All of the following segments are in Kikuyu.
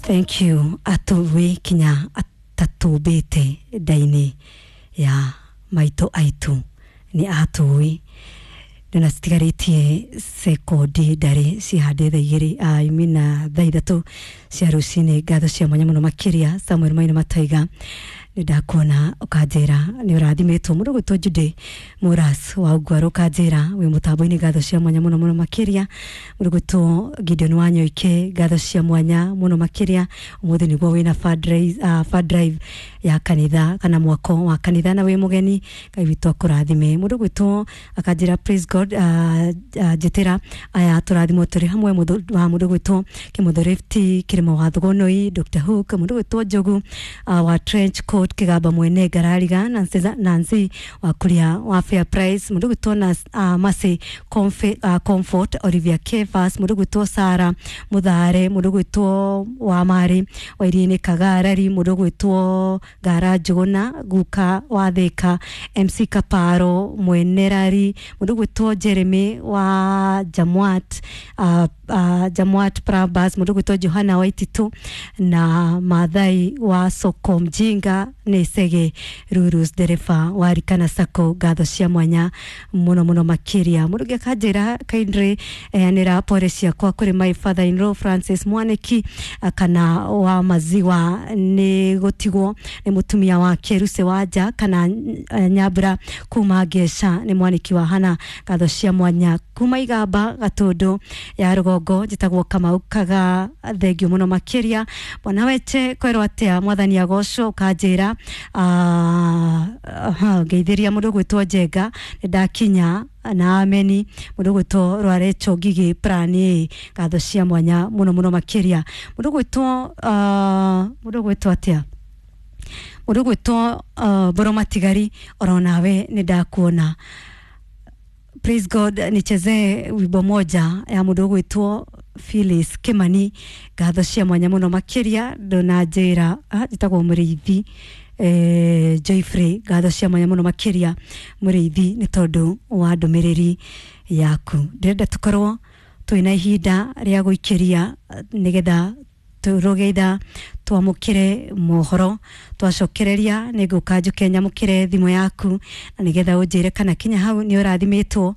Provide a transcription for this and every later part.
Thank you atũĩ kinya atatũmbĩte nda-inĩ ya maitũ aitũ nĩ atũĩ. Ndona citigarĩtie sekondi ndarĩ cihandĩ thaa igĩrĩ imina thaa ithatũ cia rũcinĩ. Ngatho cia mwanya mũno makĩria Samuel Maina Mataiga, nĩ ndakuona ũkanjĩra nĩ ũrathimĩtwo. Mũndũ gwĩtwo Jude Muras wa Ungwaro ũkanjĩra wĩ mũtambo-inĩ, ngatho cia mwanya mũno mũno makĩria. Mũndũ gwĩtwo Gideon Wanyoike, ngatho cia mwanya mũno makĩria. Ũmũthĩ nĩguo wĩna fund drive ya kanitha kana mwako wa kanitha na wĩ mũgeni, Ngai witũ akũrathime. Mũndũ gwĩtwo akanjĩra praise God, njĩtĩra aya tũrathimwo tũrĩ hamwe wa mũndũ gwĩtwo Kĩmotho Rifti Kĩrĩma wa Thugonoi, Dr Hook, mũndũ gwĩtwo Njogu wa Trench Coat Kĩgamba mwene Ngarariga, Nancy wa Kuria wa Fair Price, mũndũ gwĩtwo na Mercy Comfort, Olivia Kefas, mũndũ gwĩtwo Sara Muthare, mũndũ gwĩtwo wa Mari wa Iria-inĩ Kagarari, mũndũ gwĩtwo Ngara Njũgũna Guka wa Thika, MC Kaparo Mwenerari, mũndũ gwĩtwo Jeremy wa Jamwat, Jamwat Prabas, mũndũ gwĩtwo Johana Waititu na Mathai wa Soko Mjinga nĩ Cege Rurus dereba wa Rikana Sacco, ngatho cia mwanya mũno mũno makĩria. Mũndũ ũngĩ akanjĩra kindly eanĩra pore ciakwa kũrĩ my father in law Francis Mwaniki kana wa maziwa nĩ gũtigwo nĩ mũtumia wake Ruse Wanja kana Nyambura kuma Ngeca nĩ Mwaniki wa Hana, ngatho cia mwanya kuma Igamba Gatũndũ ya rũgongo. Njĩtagwo Kamau Kaga, thengio mũno makĩria. Bwana Weche kwerwo atĩa, mwathani agocwo. Ũkanjĩra ngeithĩria mũndũ gwĩtwo Njenga nĩ ndakinya na ameni. Mũndũ gwĩtwo Rwarecho Ngigĩ plan A, ngatho cia mwanya mũno mũno makĩria. Mũndũ gwĩtwo mũndũ gwĩtwo atĩa, mũndũ gwĩtwo Mboro Matigari, oro nawe nĩ ndakuona. Praise God, nichezee wimbo moja ya mũndũ ũgwĩtwo Phyllis Kimani, ngatho cia mwanya mũno makĩria. Ndũnanjĩra njĩtagwo Mũrĩithi Joyfrey, ngatho cia mwanya mũno makĩria Mũrĩithi nĩ tondũ wa ndũmĩrĩri yaku. Ndĩrenda tũkorwo twĩna ihinda rĩa gũikĩria nĩgetha tũrũge ithaa twamũkĩre mohoro, twacokereria nĩ ngũka njũke nyamũkĩre thimũ yaku na nĩgetha ũnjĩre kana kinya hau nĩ ũrathimĩtwo,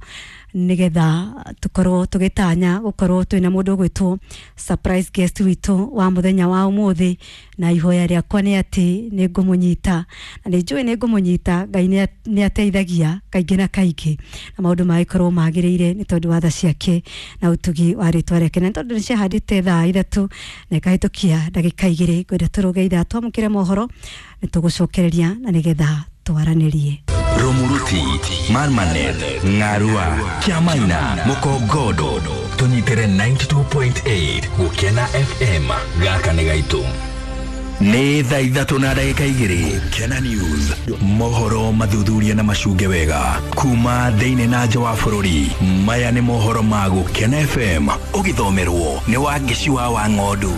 nĩgetha tũkorwo tũgĩtanya gũkorwo twĩna mũndũ ũgwĩtwo surprise guest witũ wa mũthenya wa ũmũthĩ. Na ihoya rĩakwa nĩ atĩ nĩ ngũmũnyita na nĩ njũĩ nĩ ngũmũnyita. Ngai nĩ ateithagia kaingĩ na kaingĩ na maũndũ magĩkorwo magĩrĩire nĩ tondũ wa tha ciake na ũtugi wa rĩtwa rĩake. Na nĩ tondũ nĩ ciahandĩte thaa ithatũ na ikahĩtũkia ndagĩka igĩrĩ, ngwenda tũrũge ithaa twamũkĩre mohoro, nĩ tũgũcokereria na nĩgetha twaranĩrie. Rumuruti, Marmanet, Ng'arua, Kiamaina, Mukongodo, tũnyitĩre 92.8 Gũkena FM. Gaka nĩ gaitũ. Nĩ thaa ithatũ na ndagĩka igĩrĩ. Gũkena News, mohoro mathuthuria na macunge wega kuma thĩinĩ na nja wa bũrũri. Maya nĩ mohoro ma Gũkena FM, ũgĩthomerwo nĩ Wangeci wa Ng'ondu.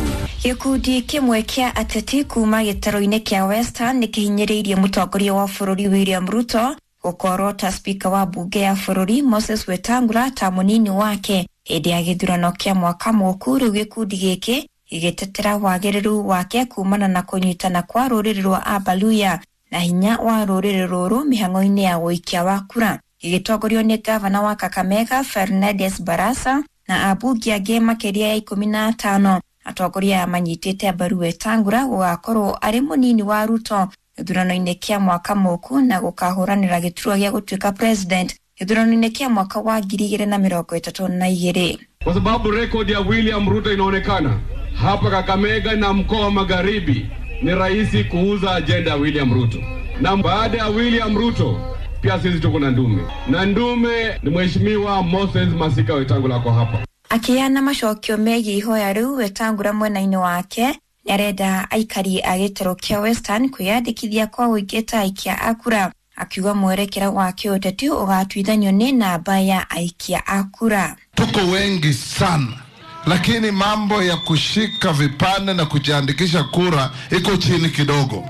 Gĩkundi kĩmwe kĩa ateti kuma gĩtarũ-inĩ kĩa Western nĩ kĩhinyĩrĩirie mũtongoria wa bũrũri William Ruto gũkorwo ta spika wa bunge ya bũrũri Moses Wetangula ta mũnini wake hĩndĩ ya gĩthurano kĩa mwaka mũku. Rĩu gĩkundi gĩkĩ gĩgĩtetera wagĩrĩru wake kumana na kũnyitana kwa rũrĩrĩ rwa Abaluya na hinya wa rũrĩrĩ rũrũ mĩhang'o-inĩ ya ũikia wa kura, gĩgĩtongorio nĩ gavana wa Kakamega Fernandes Barasa na ambunge angĩ makĩria ya 15. Atongoria aya manyitĩte mbaru Wetangula gũgakorwo arĩ mũnini wa Ruto gĩthurano-inĩ kĩa mwaka mũku na gũkahũranĩra gĩturwa gĩa gũtuĩka president gĩthurano-inĩ kĩa mwaka wa 2032. Kwa sababu rekodi ya William Ruto inaonekana hapa Kakamega na mkoa wa Magharibi, ni rahisi kuuza ajenda ya William Ruto. Na baada ya William Ruto pia sisi tuko na ndume, na ndume ni Mheshimiwa Moses Masika Wetangula kwa hapa. Akĩheana macokio megiĩ ihoya rĩu, Wetangula mwena-inĩ wake nĩarenda aikari a gĩtarũ kĩa Western kwĩyandĩkithia kwa ũingĩ ta aikia a kura, akiuga mwerekera wa kĩũteti ũgatuithanio nĩ namba ya aikia a kura. Tuko wengi sana, lakini mambo ya kushika vipande na kujiandikisha kura iko chini kidogo.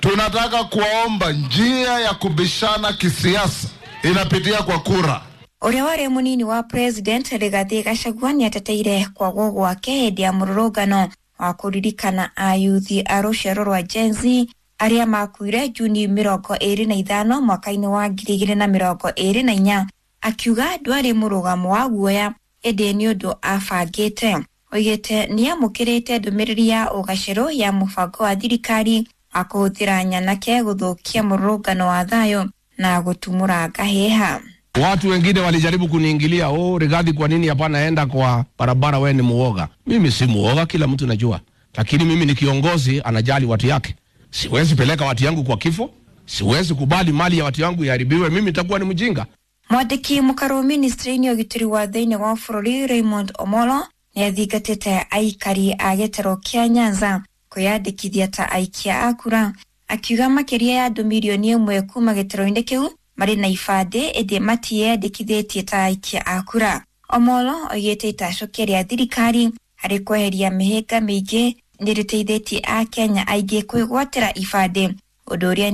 Tunataka kuwaomba, njia ya kubishana kisiasa inapitia kwa kura. Ũrĩa warĩ mũnini wa president Rigathi Gachagua nĩateteire kwagwo gwake hĩndĩ ya mũrũrũngano Wa kũririkana ayuthi a rũciaro rwa Gen Z arĩa makuire Juni 25 mwaka-inĩ wa 2024, akiuga ndwarĩ mũrũgamo wa guoya ĩndĩ nĩ ũndũ abangĩte. Oigĩte nĩamũkĩrĩte ndũmĩrĩri ya ũgacerũ ya mũbango wa thirikari wa kũhũthĩra nyanake gũthũkia mũrũrũngano wa thayũ na gũtumũra ngahĩha. Watu wengine walijaribu kuniingilia, oh, Rigathi, kwa nini hapana enda kwa barabara, wewe ni muoga. Mimi si muoga, kila mtu najua, lakini mimi ni kiongozi anajali watu yake. Siwezi peleka watu yangu kwa kifo, siwezi kubali mali ya watu yangu iharibiwe, mimi nitakuwa ni mjinga. Mwandĩki mũkarũ ministry-inĩ ya ũgitĩri wa thĩinĩ wa bũrũri Raymond Omolo nĩ athingatĩte aikari a gĩtarũ kĩa Nyanza kwĩyandĩkithia ta aikia a kura, akiuga makĩria ya andũ 1 mirioni kuma gĩtarũ-inĩ kĩu marĩ na ibandĩ ĩndĩ matiyandĩkithĩtie ta aikia a kura. Omolo oigĩte itacũkia rĩa thirikari harĩ kweheria mĩhĩnga mĩingĩ nĩ rĩteithĩtie Akenya aingĩ kwĩgwatĩra ibandĩ, ũndũ ũrĩa